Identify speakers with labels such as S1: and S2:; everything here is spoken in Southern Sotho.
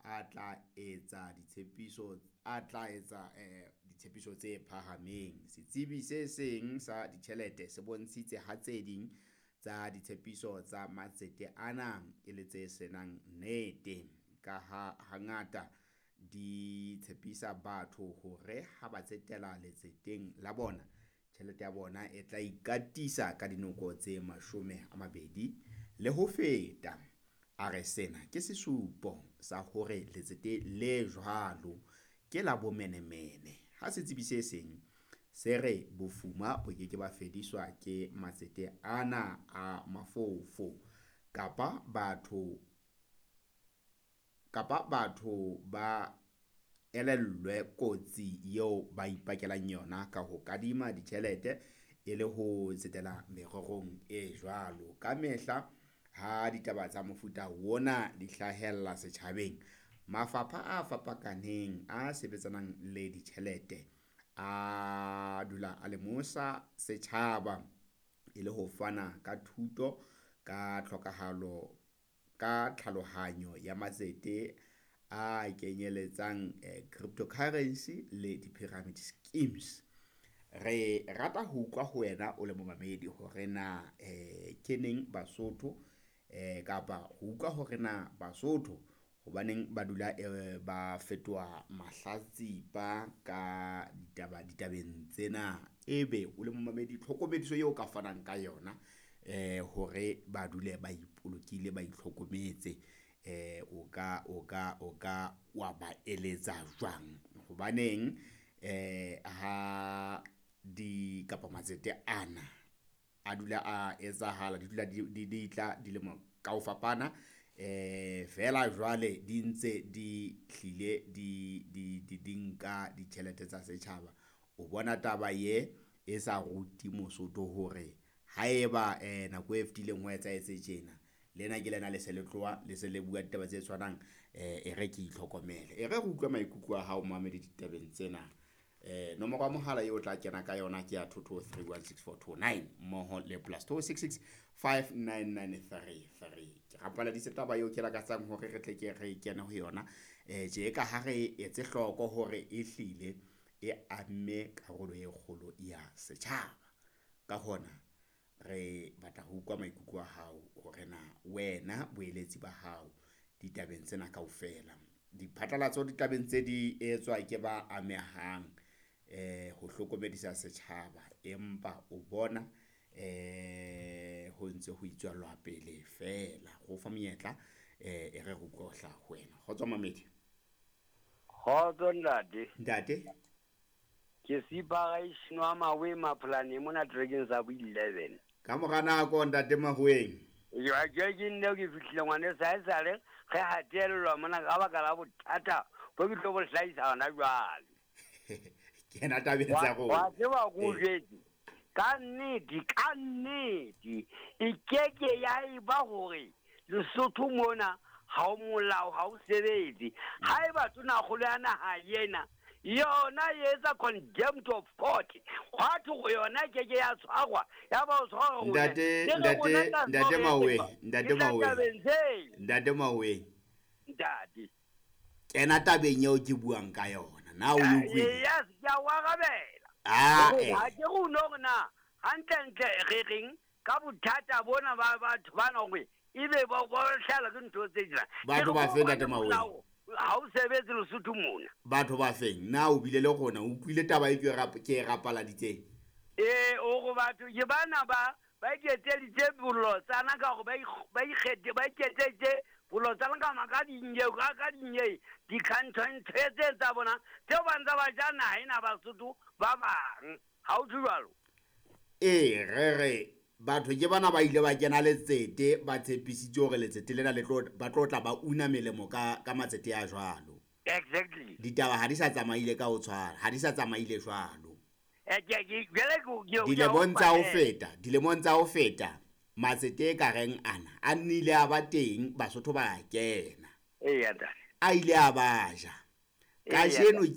S1: a tla etsa ditshepiso a tla etsa ditshepiso tse phahameng. Setsebi se seng sa ditjhelete se bontshitse ha tse ding tsa ditshepiso tsa matsete ana e le tse senang nnete, ka ha hangata di tshepisa batho hore ha ba tsetela letseteng la bona, tjhelete ya bona e tla ikatisa ka dinoko tse 20 le ho feta. A re sena ke sesupo sa hore letsete le jwalo ke la bomenemene. Ha setsebi se seng se re bofuma bo ke ke ba fediswa ke matsete ana a mafofo kapa batho ba elellwe kotsi eo ba ipakelang yona ka ho kadima ditjhelete e le ho tsetela mererong e jwalo. Ka mehla ha ditaba tsa mofuta ona di hlahella setjhabeng, mafapha a fapakaneng a sebetsanang le ditjhelete a dula a lemosa setjhaba e le ho fana ka thuto ka tlhokahalo ka tlhalohanyo ya matsete a kenyeletsang cryptocurrency le di-pyramid schemes. Re rata ho utlwa ho wena o le momamedi hore na ke neng Basotho kapa ho utlwa hore na Basotho hobaneng ba dula ba fetoha mahlatsipa ka ditaba ditabeng tsena. Ebe o le momamedi tlhokomediso eo ka fanang ka yona hore ba dule ba ipolokile, ba itlhokometse, o ka wa ba eletsa jwang? Hobaneng ha di kapa matsete ana a dula a etsahala, di dula di tla dilemo ka ho fapana, feela jwale di ntse di hlile di nka ditjhelete tsa setjhaba. O bona taba ye e sa rute Mosotho hore haeba nako e fetileng ho etsahetse tjena, lena ke lena le se le tloha le se le bua ditaba tse tshwanang, e re ke itlhokomele. E re re utlwe maikutlo a hao momamedi ditabeng tsena. Nomoro ya mohala eo o tla kena ka yona ke ya 22316429 mmoho le +266 59933. Ke rapaladitse taba eo ke lakatsang hore re tle ke re kene ho yona tje ka ha re etse hloko hore e hlile e amme karolo e kgolo ya setjhaba. Ka hona re batla ho utlwa maikutlo a hao hore na wena boeletsi ba hao ditabeng tsena kaofela. Diphatlalatso ditabeng tse di etswa ke ba amehang ho hlokomedisa setjhaba, empa o bona ho ntse ho itswellwa pele feela. Re o fa monyetla e re re utlwe ho hlaha ho wena. Kgotso mamedi.
S2: Kgotso ntate.
S1: Ntate.
S2: Ke Sipara wa Mawe Mapolane mona trekeng sa bo 11.
S1: Ka mora nako ntate Mahoeng.
S2: Ja ke nne ke fihlile ngwane sa esale re hatellwa mona ka baka la bothata bo ke tlo bo hlahisa hona jwale.
S1: Kena tabeng tsa rona.
S2: Wa tseba ko jwetse. Ka nnete e keke ya eba hore Lesotho mona ha o molao ha o sebetse. Haeba tonakgolo ya naha ena yona e etsa condemned of court, hwa thwe yona ke ke ya tshwarwa ya ba o tshwarwa.
S1: Ntate Mawe,
S2: ntate
S1: kena tabeng eo ke buang ka yona na o utlwile?
S2: Yes, ke a o arabela. Ha ke re o no re na hantlentle re reng ka bothata bona ba batho bana hore ebe ba hlala ke ntho tse jwang.
S1: Batho ba feng ntate Mawe?
S2: Ha o sebetse Lesotho mona.
S1: Batho ba feng? Na o bile le rona o utlwile taba e ke e rapaladitseng?
S2: O re batho ke bana ba iketseditse bolotsana ka hore ba iketseditse bolotsana ka maka ka dinye di-canton tse tsa bona tseo ba ntse ba ja naha ena Basotho ba bang. Ha o thwe jwalo?
S1: Ee, re batho ke bana ba ile ba kena letsete, ba tshepisitse hore letsete lena le tlo ba tlo tla ba una melemo ka matsete a jwalo.
S2: Exactly.
S1: Ditaba ha di sa tsamaile ka ho tshwana, ha di sa tsamaile jwalo. Dilemong tsa ho feta, matsete e ka reng ana a nnile a ba teng, Basotho ba kena.
S2: Ee, ntate.
S1: A ile a ba ja. Kajeno ke